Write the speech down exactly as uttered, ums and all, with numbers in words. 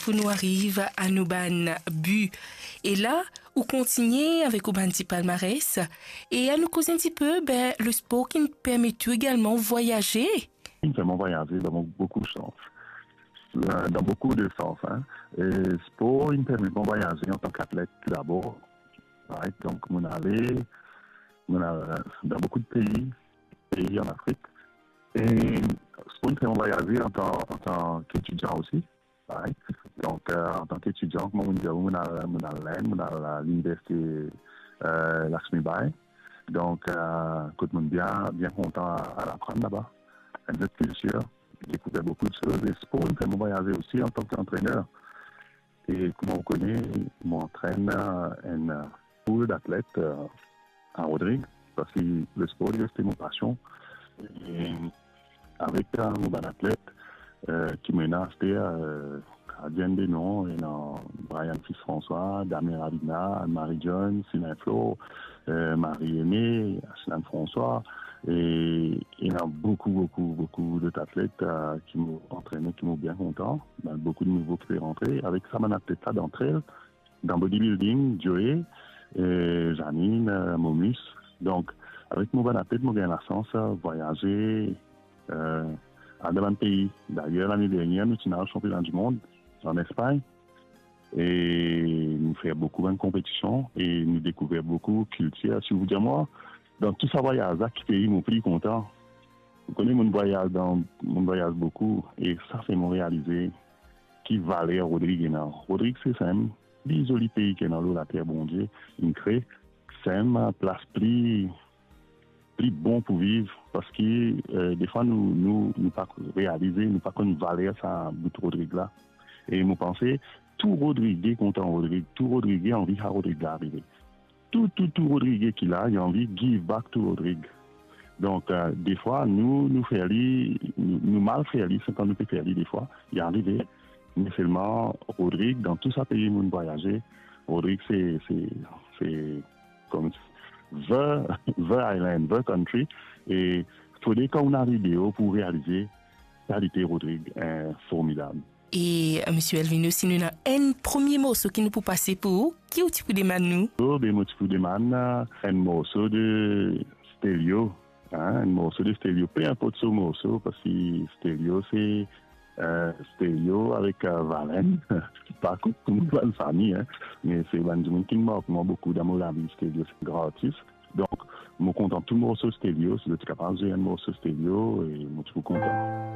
pou nou ariv a nou bann bi. E la, ou kontigne avek ou bann ti palmares, e anou koz enn tipe, be, lespor ki'nn permet ou egalman vwayaze. Inn fer mwa vwayaze dan mo-, boukou sans. Euh, dan boukou de sans, hein. E spor inn permet mwa vwayaze antan ki atlet tou dabor. Right? Donk, mo'nn ale, mo'nn al dan boukou de pei, pei an Afrik. E spor inn fer mwa vwayaze antan, antan ki etidian osi. Right? Donk, euh, antan ki etidian, kouma mo'nn dir, mo'nn al, mo'nn al Lenn, mo'nn al, euh, liniversite, euh, Lakshmibai. Donk, euh, kot mo'nn bien, bien kontan al aprann laba. Enn lot kiltir, dekouver boukou de soz. E spor inn fer mwa vwayaze osi antan ki antrener. E kouma ou kone, mo antrenn, euh, enn, euh, poul datlet, euh, a Rodrig, parski lespor, li reste mo pasion. E avek, euh, mo bann atlet, euh, ki mo ena aster, euh, gardien de non, ena Brian Fils François, Damien Ravina, Anne-Marie Jones, Sylvain Flo, euh, Marie Aimée, Aslan François, e ena boukou, boukou, boukou dot atlet, euh, ki mo antrene, ki mo bien kontan. Bann boukou de nouvo ki pe rantre. Avek sa bann atlet la, dan trail, dan bodybuilding, Joe, euh, Janine, euh, Momus. Donk, avek mo bann atlet, mo gagn lasans, euh, vwayaze, euh, al dan bann pei. Dayer, lane dernier, nou ti al sanpiona dimond an Espagn. E nou fer boukou bann konpetision e nou dekouver boukou kiltir. Si ou dir mwa, dan tou sa vwayaz la, ki pei mo pli kontan? Ou kone, mo'nn vwayaz dan, mo'nn vwayaz boukou, e sa fer mo realize ki valer Rodrig ena. Rodrig se enn pli zoli pei ki ena lor later Bondie inn kre, se enn plas pli, pli bon pou viv, parski, euh, defwa nou, nou, nou pa realize, nou pa konn valer sa bout Rodrig la. E mo panse, tou Rodrige kontan Rodrig, tou Rodrige anvi sa Rodrig la arive. Tou, tou, tou Rodrige ki la, li anvi give back to Rodrig. Donk, euh, defwa, nou, nou fer li, nou, nou mal fer li, seki nou pe fer li defwa, li arive. Me selman, Rodrig, dan tou sa pei mo'nn vwayaze, Rodrig se, se, se, kouma, the, the island, the country. E fode kan ou ariv deor pou realize kalite Rodrig, eh, formidab. E, euh, Misie Elvino, si nou ena enn premie morso ki nou pou pase pou ou, ki ou ti pou demann nou? Oh, be, mo ti pou demann, euh, enn morso de Stelio, hein, enn morso de Stelio, pe inport so morso, parski Stelio se, euh, Stelio avek, euh, Valen, pa kot tou bann fami, hein, me se bann dimoun ki mark mwa boukou dan mo lavi. Stelio se gran artis. Donk, mo kontan tou morso Stelio, si zot ti kapav zwe enn morso Stelio, e mo ti pou kontan.